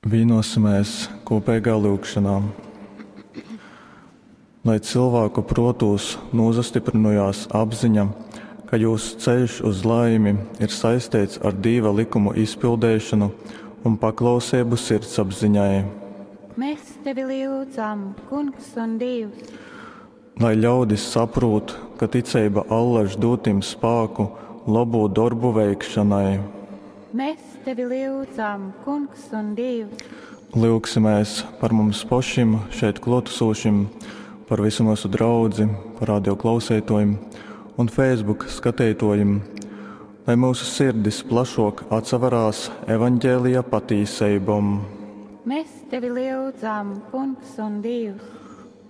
Vīnosimies kopīgā lūgšanā. Lai cilvēku protūs nūsastyprynojās apziņa, ka jūs ceļš uz laimi ir saistīts ar Dīva likumu izpildīšanu un paklausību sirdsapziņai. Mēs tevi lyudzam, Kungs un Dievs. Lai ļaudis saprūt, ka ticība allaž dūtim spāku labu darbu veikšanai. Mēs tevi lyudzam, Kungs un Dievs. Lūgsimies par mums pašim šeit klātesošim, par visu mūsu draudzi, par radio klausītājiem un Facebook skatītājiem, lai mūsu sirdis plašāk atsaverās evaņģēlija patīseibom. Mēs tevi lyudzam, Kungs un Dievs.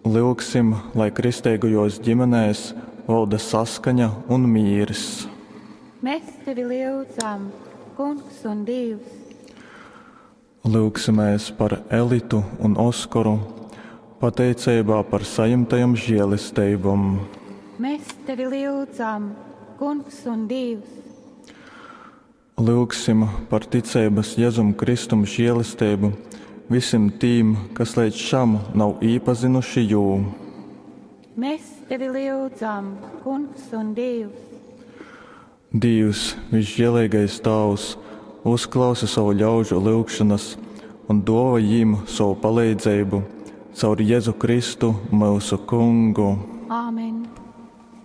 Lūgsim, lai kristīgajos ģimenēs valda saskaņa un mīrs. Mēs tevi lyudzam, Kungs un Dievs. Lūgsimies par Elitu un Oskaru, pateicībā par saņemtajam žēlestībām. Mēs tevi lyudzam, Kungs un Dievs. Lūgsim par ticības Jēzum Kristum žēlastību visiem tīm, kas līdz šam nav iepazinuši jū. Mēs tevi lyudzam, Kungs un Dievs. Dievs, visžēlīgais Tēvs, uzklausi savu ļaužu lūgšanas un dāvā viņiem savu palīdzību caur Jēzu Kristu, mūsu Kungu. Āmen.